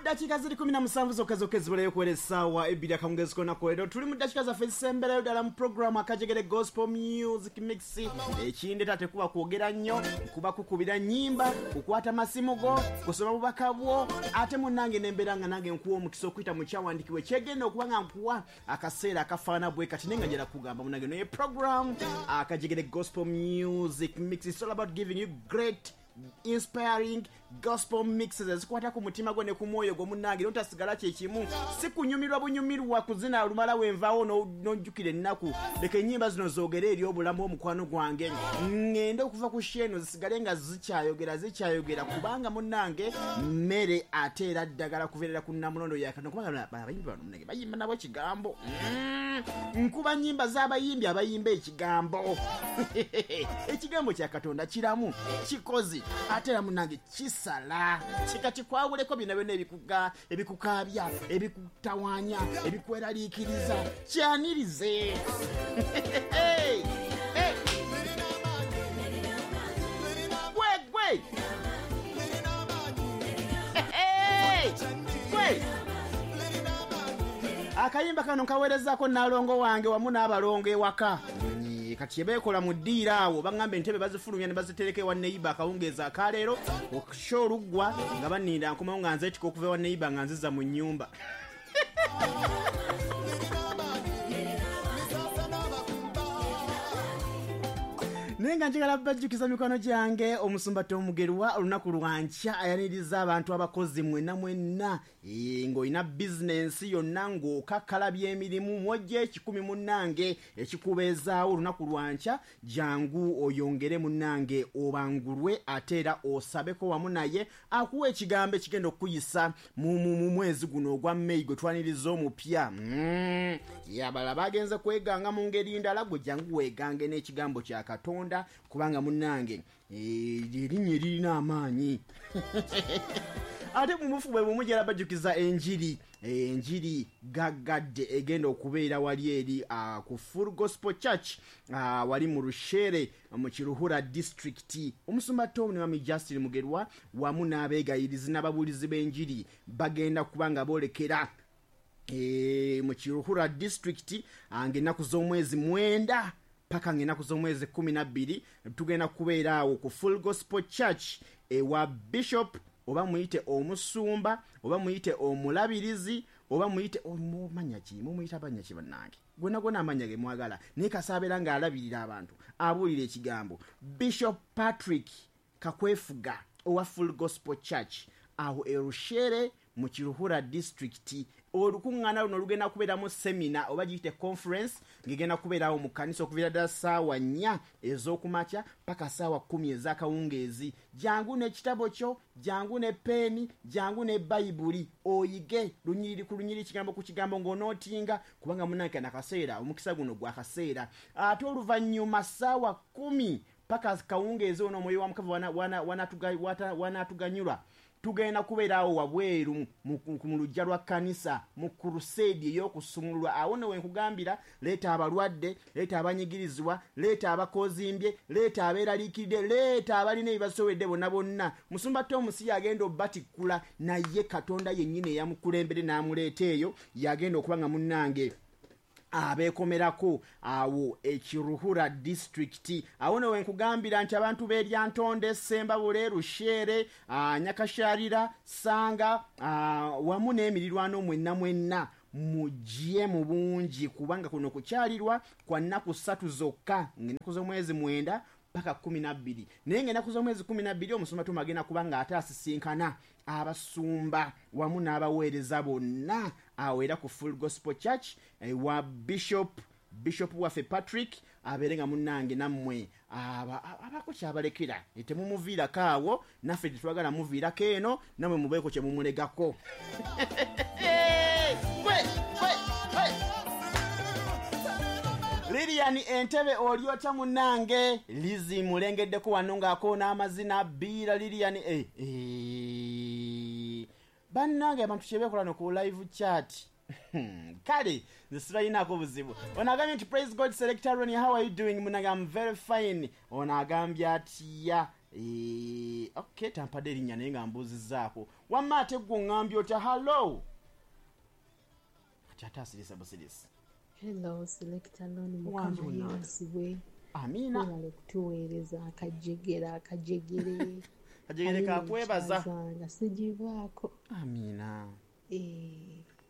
Mu ddakiika ziri 17 zokka zokka ezibulayo okuwera essaawa 2 akawungeezi k'olunaku leero, tuli mu ddakiika zaffe ezisemberayo ddala mu puroguramu Akajegere Gospel Music Mix. Ekindeta tekuba kwogera nnyo, kuba kukubira nnyimba, kukwata masimu go, kusoma bubaka bwo, ate munnange nembeera nga nange nkuwa omukisa okuyita mu kyawandiikibwa ekyegenda okuba nga nkuwa akaseera akafaana bwe kati, naye nga njala kugamba munnange naye program Akajegere Gospel Music Mix, it's all about giving you great inspiring gospel mixes ezikwata ku mutima gwo ne ku mwoyo gwo. Munnange, notasigala kyekimu, si kunyumirwa bunyumirwa kuzina lumala wenvaawo n'ojjukira ennaku. Leka ennyimba zino zoogere eri obulamu omukwano gwange, ŋŋende okuva ku sheeno zisigale nga zikyayogera, zikyayogera, kubanga munnange mmere ate era ddagala kuveerera ku nnamulondo ya Katonda, kubanga abayimbi bano munnange bayimba nabo ekigambo. Nkuba nnyimba z'abayimbi abayimba ekigambo. Ekigambo kya Katonda kiramu, kikozi, ate era munnange kisala kika kikwawuleko byonna byonna ebikukaabya, ebikutawaanya, ebikweraliikiriza. Kyanirize. Hey! Hey! Gwe gwe. Hey! Gwe akayimba kano nkaweerezaako naalongo wange wamu n'abalongo ewaka. Kati kyebeekola mu ddiiro awo, baŋŋamba entebe bazifulumya ne bazitereka ewa neighbour. Akawungeezi akaleero okusha oluggwa nga baninda nkomawo nga nzeetika okuva ewa neighbour nga nziza mu nnyumba. Naye nga njagala bajjukiza mikwano gyange, omusumba Tomugerwa olunaku lwankya ayaniriza abantu abakozi mwenna mwenna. Ng'olina bizinensi yonna, ng'okakkalabya emirimu, mwojja 1,000 munnange ekikubeezaawo. Olunaku lwankya jangu oyongere munnange obangulwe, ate era osabeko wamu naye akuwa ekigambo ekigenda okukuyisa mu mwezi guno ogwa Meyi gwe twaniriza omupya. Abalala bagenze kweganga mu ngeri ndala, gwe jangu weegange n'ekigambo kya Katonda, kubanga munnange erinnya eririna amaanyi. Ate mu bufu bwe bumu gyera bajjukiza enjiri, enjiri gaggadde egenda okubeera wali eri ku Full Gospel Church, wali mu Rushere mu Kiruhura District. Omusumba Tom ne Mami Justin Mugerwa wamu n'abeegayirizi n'ababuulizi b'enjiri bagenda kuba nga boolekera mu Kiruhura District ng'ennaku z'omwezi 9 paka ng'ennaku z'omwezi 12. Tugenda kubeera awo ku Full Gospel Church ewa Bishop, oba muyite omusumba, oba muyite omulabirizi, oba muyite manya ki, mumuyita banya ki, bannange, gwonna gwonna amanya ge mwagala, naye kasaabeera ng'alabirira abantu, abuulira ekigambo, Bishop Patrick Kakwefuga owa Full Gospel Church awo Erushere mu Kiruhura District. Olukuŋŋaana luno lugenda kubeeramu seminar oba giyite conference, ng'egenda kubeerawo mu kkanisa okuviira ddala ssaawa 4 ez'okumakya paka ssaawa 10 ez'akawungeezi. Jangu n'ekitabo kyo, jangu ne peeni, jangu ne Bayibuli, oyige lunyiriri ku lunyiriri, kigambo ku kigambo, ng'onootinga, kubanga munnange kana akaseera, omukisa guno gwa kaseera. Ate oluvannyuma ssaawa 10 paka kawungeezi ono, omwoyo wa Mukama wanaatuganyulwa, tugenda kubeera awo wabweru mu luggya lwa kkanisa mu crusade ey'okusumululwa. Awo nno wenkugambira, leeta abalwadde, leeta abanyigirizibwa, leeta abakozimbye, leeta abeeraliikiridde, leeta abalina ebibasobedde bonna bonna. Musumba Tom si yagenda obbatikkula, naye Katonda yennyini eyamukulembere n'amuleeta eyo yagenda okuba nga munnange abeekomerako awo Ekiruhura District. Awo no wenkugambira nti abantu b'Eryantonde, Sembabule, Rushere, Nyakasharira, Sanga, wamu n'emirirwano mwenna mwenna mujje mu bungi, kubanga kuno kukyalirwa kwa nnaku 3 zokka, ng'ennaku z'omwezi 9 paka 12. Naye ng'ennaku z'omwezi 12 omusumba Tom agenda kuba ng'ate asisinkana abasumba wamu n'abaweereza bonna awo era ku Full Gospel Church ewa Bishop waffe Patrick, abeere nga munnange nammwe abaako kyabalekera. Temumuviirako awo, naffe tetwagala muviirako eno, nammwe mubeeko kye mumulegako. Gwe, gwe, gwe. Lilian Entebe, oli otya munnange? Lizi mulengeddeko wano ng'akoona amazina biira Lilian. Bannange, abantu kyebeekola no ku live chat. Kale nze sibalinaako buzibu. Ono agambye nti, "Praise God, Selector Ronnie, how are you doing?" Munnange, I'm very fine. Ono agambye atya? Okay, tampadde erinnya naye nga mbuuzizzaako. Wamma ate ggwe oŋŋambye otya? Hallo, kati ate asirisa busirisi. Hello, Selector Loni, Wangi Mukama munnange. yeebazibwe. Amiina. Webale kutuweereza akajegere akajegere. Kajegere Alina kakwebaza. ekyazanga sigivaako. Amiina.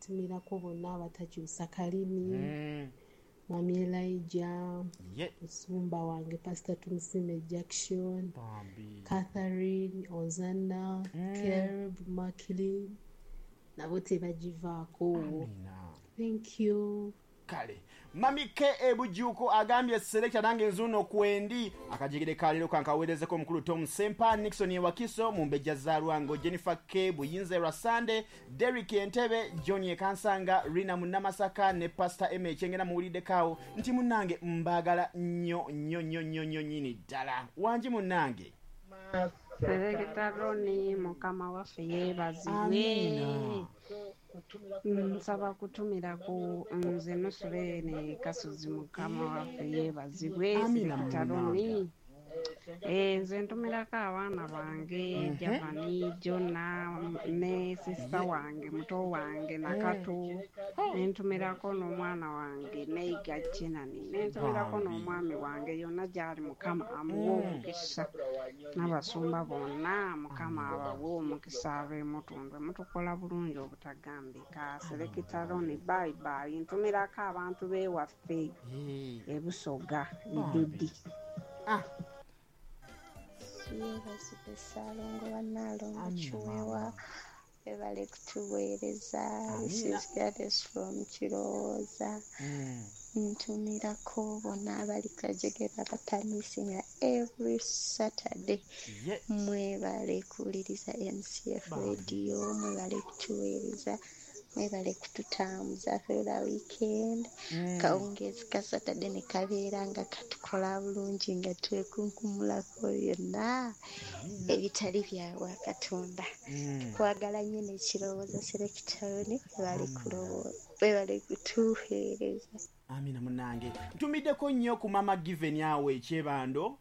Tumirako bonna abatakyusa kalimi. Mami Elijah, Ye. musumba wange Pastor Tumusime Jackson, Bambi. Catherine Ozana, Caleb Macklin, nabo tebagivaako. Amiina. Thank you. Kale Mami K Ebujuko agambye Selector nange nzuno kwendi akajegere kalero kankaweerezeko omukulu Tom Sempa, Nixon Ewakiso, Mumbejja Zalwango, Jennifer K Buyinze Rasande, Derrick Entebe, John Ekansanga, Rina Munamasaka ne Pastor M Ekyengera. Muwuliddeko nti munnange mbaagala nnyo nnyo nnyo nnyo nnyo nnyini ddala. Wangi munnange. Selector Loni, Mukama waffe yeebazibwe. Amiina. Nsaba kutumirako nze Nusurene Kasozi, Mukama waffe yeebazibwe. Amiina Selector munnange. Loni. Nze ntumirako abaana bange Javani, Jona ne sisita wange muto wange Nakato, nentumirako n'omwana wange Neiga Kinani, nentumirako Bambi. n'omwami wange yonna gy'ali, Mukama amuwe omukisa, n'abasumba bonna Mukama abawe omukisa ab'emutundwe. Mutukola bulungi obutagambika. Selector Loni, bye bye. Ntumirako abantu b'ewaffe Ebusoga, Idudi. Ah. Yeebazibwe Ssaalongo wa Nnaalongo Amiina, Kiweewa, maama. webale kutuweereza. This Amiina. is Gladys from Kirowooza. Ntumirako bonna abali Kajegere abatamisinga every Saturday. Ye. Mwebale kuwuliriza MCF Bambi. Radio, mwebale kutuweereza, mwebale kututambuza through the weekend. Kawungeezi ka Saturday ne kabeera nga katukola bulungi nga twekunkumulako byonna ebitali bya Katonda. Tukwagala nnyo n'ekirowoozo Selector Loni, webale kutuweereza. Amina munnange. Ntumiddeko nnyo ku Mama Given awo ekyebando,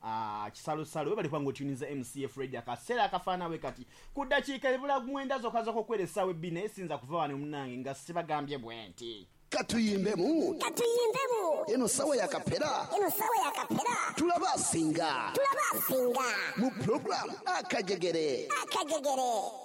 kisalosalo, webale kubanga otuninza MCF Radio akaseera akafaanawe kati ku ddakiika ebula 9 zokka zokka okwera essaawa 2, naye sinza kuva wano munnange nga sibagambye bwe nti Katuyimbemu. Katuyimbemu. Eno sawa ya kapera. Eno sawa ya kapera. Tulaba asinga. Tulaba asinga. Mu program Akajegere. Akajegere.